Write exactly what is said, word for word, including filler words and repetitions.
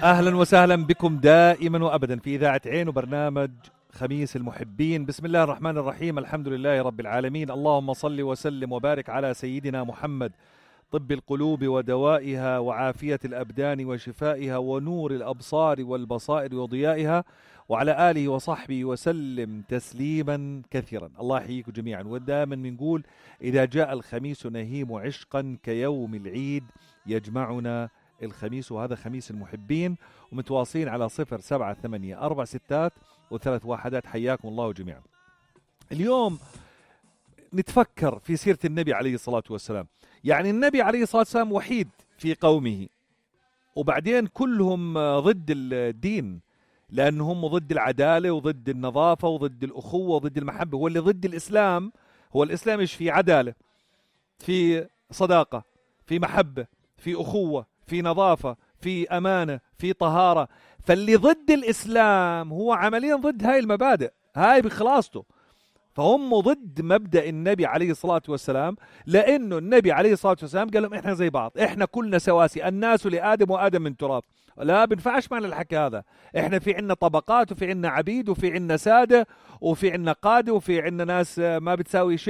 أهلا وسهلا بكم دائما وأبدا في إذاعة عين وبرنامج خميس المحبين. بسم الله الرحمن الرحيم، الحمد لله رب العالمين، اللهم صل وسلم وبارك على سيدنا محمد، طب القلوب ودوائها وعافية الأبدان وشفائها ونور الأبصار والبصائر وضيائها، وعلى آله وصحبه وسلم تسليما كثيرا. الله يحييكم جميعا. ودائما بنقول إذا جاء الخميس نهيم عشقا كيوم العيد يجمعنا الخميس، وهذا خميس المحبين، ومتواصلين على صفر سبعة ثمانية أربع ستات وثلاث واحدات. حياكم الله جميعا. اليوم نتفكر في سيرة النبي عليه الصلاة والسلام. يعني النبي عليه الصلاة والسلام وحيد في قومه، وبعدين كلهم ضد الدين، لأنهم ضد العدالة وضد النظافة وضد الأخوة وضد المحبة. هو اللي ضد الإسلام، هو الإسلام إيش في عدالة، في صداقة، في محبة، في أخوة، في نظافة، في أمانة، في طهارة. فاللي ضد الإسلام هو عمليا ضد هاي المبادئ، هاي بخلاصته. فهم ضد مبدأ النبي عليه الصلاة والسلام، لأنه النبي عليه الصلاة والسلام قال لهم إحنا زي بعض، إحنا كلنا سواسي، الناس لآدم وآدم من تراب. لا بنفعش معنا الحكي هذا. إحنا في عنا طبقات، وفي عنا عبيد، وفي عنا سادة، وفي عنا قادة، وفي عنا ناس ما بتساوي شيء